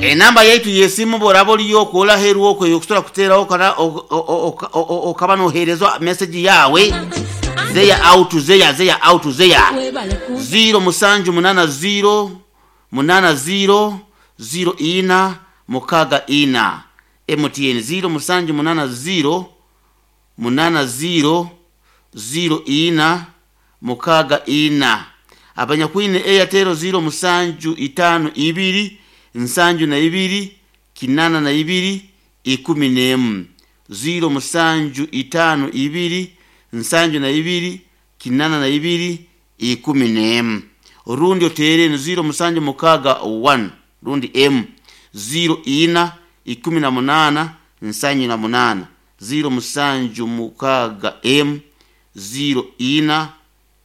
Enamba yaitu yesimu bworaba oliyo okwola heru okwo okusobora kuteraho okaba noherezwa message yawe zeya out zeya zeya out zeya 0 musanju munana 0 munana 0 0 ina mukaga ina MTN 0 musanju munana 0 munana 0 0 ina mukaga ina abanyakwine Airtel 0 musanju itano ibiri nsanju na ibiri kinana na ibiri ikumi n'emu 0 musanju itano ibiri nsanju na ibiri kinana na ibiri ikumi n'emu rundi otere ni 0 musanju mukaga 1 rundi m 0 ina ikumi na munana nsanju na munana 0 musanju mukaga m 0 ina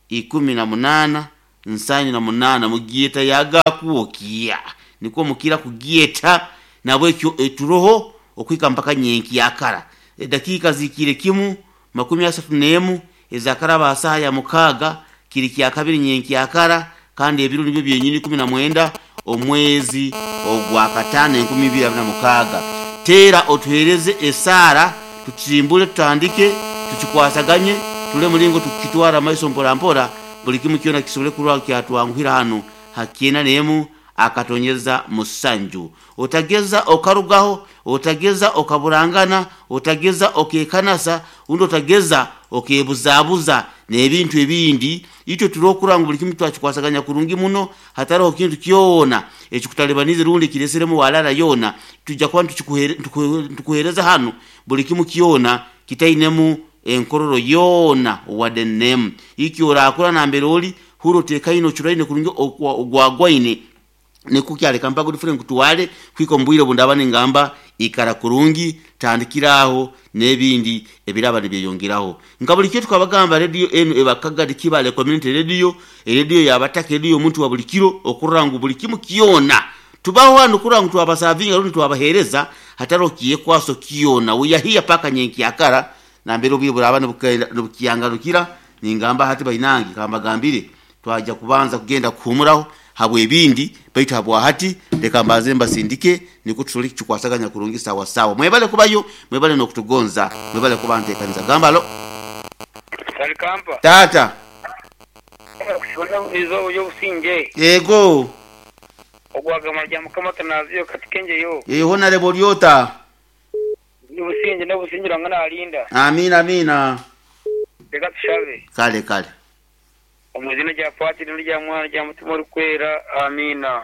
ikumi na munana nsanju na munana mugieta yagakuokia nikwo mukira kugieta nabwekyo eturoho okwika mpaka nyenki yakara edakiika zikire kimu 31 ezakaraba saha ya mukaga kiri kya kabiri nyenki yakara kandi ebiro nibyo byenyini 19 omwezi ogwa katano 2026. Tera otuhereze esara tutsimbule tutandike tukikwasaganye tule mulingo tukitwara maiso mpora mpora buli kimu kyona kisobole kulwa kyatwanguhira hano hakiena nemu akatonyeza musanju. Otageza okarugaho, otageza okaburangana, otageza okekanasa, undi otageza okebuzabuza n'ebintu ebindi. Itwe turokura ngu buli kimu twakikwasaganya kurungi muno hatariho kintu kyona ekikutalibanize rundi kireseremu walala yona. Tujja kuba ntukuhereza hano buli kimu kyona kitainemu enkororo yona wadenemu iki orakura nambere oli huro tekaino churaine kurungi ogwagwaine nikukyaleka mpaka udifure nkutuwale kwiko mbwire bundaba ningamba ikara kurungi tandikiraho n'ebindi ebiraba nibyeyongeraho. Nka buli kyo tukabagamba radio enu ebakaga Kibale Community Radio, radio yabataka, radio omuntu wa buli kiro okurora ngu buli kimu kyona tubaho hano kurora ngu twabasavinga rundi twabahereza hataro kiyekwaso kyona uyahiya paka nyenki akara nambere obwiire buraba nibukiyangarukira. Ningamba hati bainangi kambagambire twaja kubanza kugenda kuhumuraho habwe ebindi baitu habwa hati leka mbanze mbasindike niko tusole kikwasaganya kurungi sawa sawa. Mwebale kubayo, mwebale nokutugonza, mwebale kuba ntekaniza gambalo Kalikampa tata kushona izo yobusinge yego ogwagama rya mukama tanaziyo katikenje yo yeho narebo lyota nibusinge nobusingira ngana alinda. Amina amina. Reka tushabe kale kale omuzina rya patiri n'irya mwana rya mutima orikwera amina.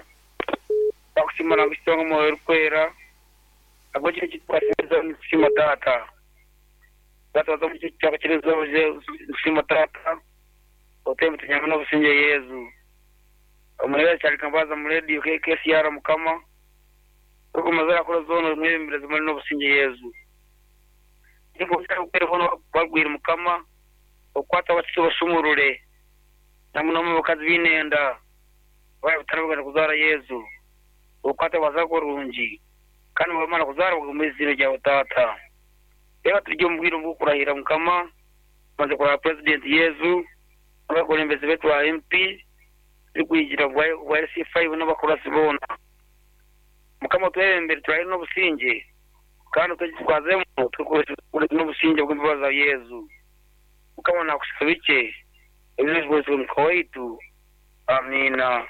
Bakushima nakushonga omwoyo orikwera abo kiro kitwasiriza nikushima tata tata omu kyakiriza nikushima tata otembe tunyama n'obusinge Yezu omurebe kyali kambaza mu radio KKCR mukama okumazara kora zono mwebembere zimali n'obusinge Yezu niko kyari bagwira mukama okwata abatsi basumurure namuno bakazi binenda baya butarabugana kuzara Yezu okwata bazakorungi kandi bamara kuzara bagumiziro rya tata. Reka turye omubwire bw'okurahira mukama maze kurahira President Yezu abakulembeze betu ba MP bikwigira bwa LC5 n'abakurasi bona mukama twebembere turahire n'obusinge kandi twazemu tukoresha n'obusinge bw'imbabazi za Yezu mukama nakusaba ike ebyo mukama waitu amina.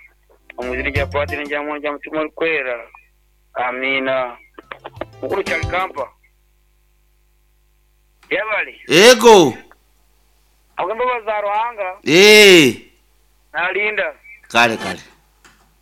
Omuzina rya patiri n'irya mwana rya mutima orikwera amina. Mukuru Kyalikampa yabale ego agamba za Ruhanga nalinda kale kale.